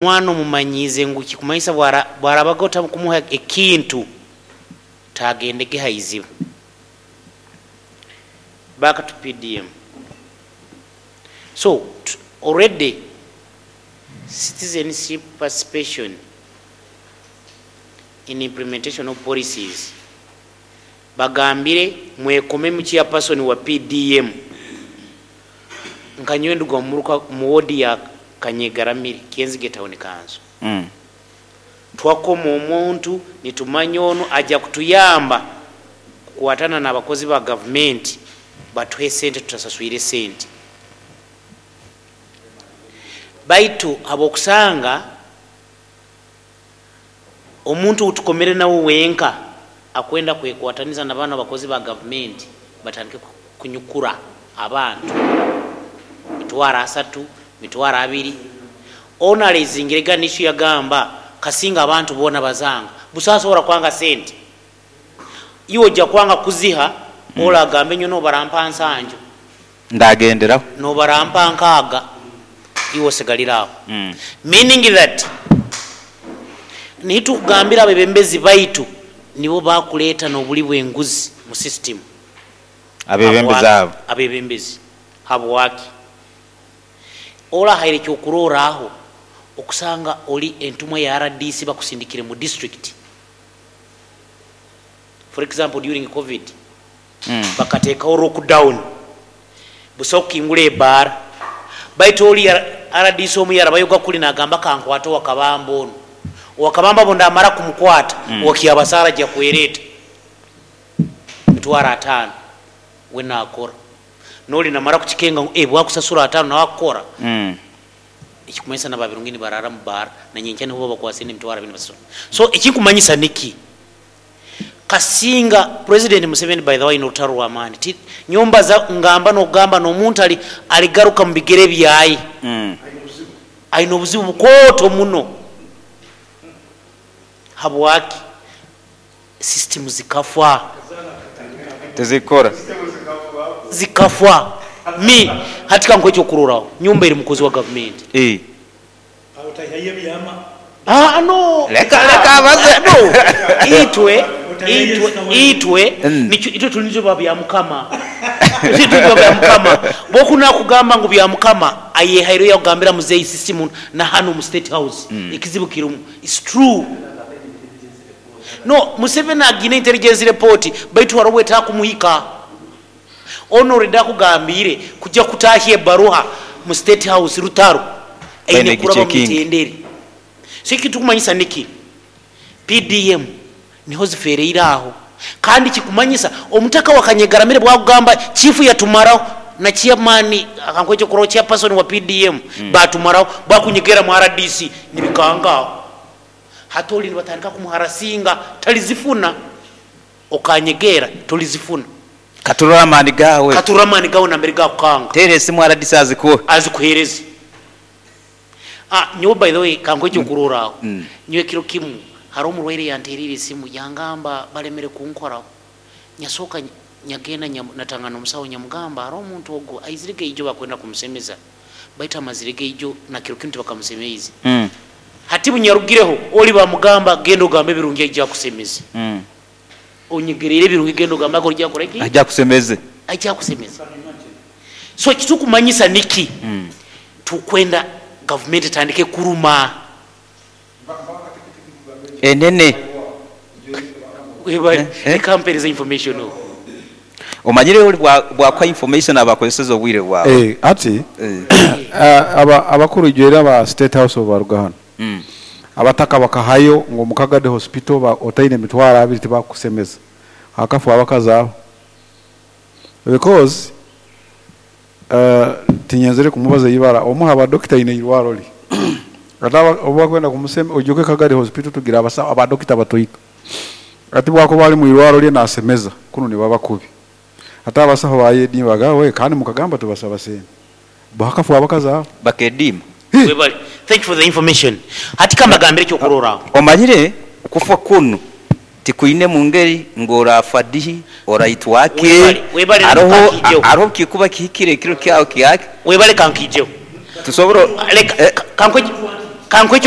Omwana omumanyiize ngu kikumanyisa bwarabaga otakumuha ekintu tagendege ha iziba. Back to PDM. So already citizenship participation in implementation of policies bagambire mwekomemu chairperson wa PDM nka nyowe nduga omu mu ward ya Kanyegaramire Kyenzige Town Council. Twakoma omuntu nitumanya onu aja kutuyamba kukwatana n'abakozi ba gavumenti batuhe sente tutasaswire sente, baitu habwokusanga omuntu outukomere nawe wenka akwenda kwekwataniza na banu abakozi ba gavumenti batandike kunyukura abantu 30,000, 20,000. Onu araizingirega nishu yagamba kasinga abantu boona bazanga busasobora kwanga sente, iwe ojja kwanga kuziha. Ola agambe nyo nobarampa nsanju ndagenderaho nobarampa nkaaga, iwe osigaliraho. Meaning that nitukugambira abebembezi baitu nibo bakuleeta n'obuli bw'enguzi mu system. Abebembezi abo. Abebembezi habwaki orahaire ekyokurorraho okusanga oli entumwa ya RDC bakusindikire mu district, for example during COVID, bakateekaho lockdown, busaho kukingura ebaara, baitu oli RDC omu yarabayoga kuli nagamba kankwate owakabamba onu, owakabamba bo ndamara kumukwata, owakyabasaara ajja kwereeta 50,000 we nakora, noli namara kukikenga ngu bwakusasura 5 nawe akukora. Ekikumanyisa nababirungi nibarara mu baara na nyenkya niho babakwasire 20,000 basasura. So ekinkumanyisa niki, kasinga President Museveni by the way n'orutaro rw'amaani, nyombaza ngamba n'okugamba n'omuntu aligaruka mu bigere byaye. Aine obuzibu bukooto muno. Habwaki system zikafa? Tezikora. Zikafa. Mi hati kankuha ekyokurorraho, nyumba eri mukozi wa gavumenti. Ah, no. Leka abaze. No. Itwe, itwe, itwe, nikyo, itwe tulinze ba bya Mukama. Itwe tulinze bya Mukama. Bokuna kugamba ngu bya Mukama, ayehairo yakugambira muzeyi system na hano mu State House. Ekizibu kirumu. It's true. No, Museveni agina intelligence report, baitu hariho etakumuhika. Ono already akugambire kujja kutahya ebaruha mu State House rutaro. Aine Baine kuraba mu gichecking. mitendere. So ekitumanyisa niki? PDM niho zifereire aho. Kandi kikumanyisa omutaka wa Kanyegaramire bwakugamba chifu yatumaraho na chairman akankwecho kuro chairperson wa PDM batumaraho bakunyegera mu RDC nibikangaho. Hatoli nibatandika kumuharasinga talizifuna okanyegera tolizifuna. Katurora amani gawe. Katurora amani gawe nambere gakukanga. Tere esimu RDC azikuhe. Azikuhereze. Nyowe by the way kankwecho kurora aho. Nyowe kiro kimu hari omurwaire yanterire esimu yangamba balemere kunkoraho. Nyasoka nyagenda natangana omusawo nyamugamba hari omuntu ogo aizirege ijo bakwenda kumusemeza. Baita amazirege ijo na kiro kimu tibakamusemeize. Hati bunyarugireho oli bamugamba genda ogambe ebirungi aija kusemeza. Onyegerere ebirungi genda ogambe ako ojja kora ki? Aija kusemeze. Aija kusemeza. So kitukumanyisa niki? Tukwenda government etandike kuruma. Enene. Weba, ekampereza information o. Omanyire oli bwa kwa information abakozeseza obwire bwawe. Ati, abakuru jwera ba State House of Barugahano. Abataka bakahayo ngo mukagade hospital ba otaine 20,000 tibakusemeza. Hakafu abakazaho. Because tinyenzere kumubaza ibara omuha aba doctor ine irwaro li. Ata oba kwenda kumusema ojoke Kagadi hospital tugira abasa aba doctor batoika. Ati bwako bali mu irwaro lye nasemeza kuno ni baba kubi. Ata abasaho bayedi bagawe kandi mukagamba tubasaba sente. Bakafu abakazaho. Bakedima. Webali. Thank you for the information. Hati kamba gambire cyo kurora. Omanyire kufa kuno tikuine mu ngeri ngora fadihi oraitwake. Webale, webale kankijeho. Aroho kikuba kihikire kiro kyawo kiyake. Webale kankijeho. Tusobora Leka, kankwe Kankuhe.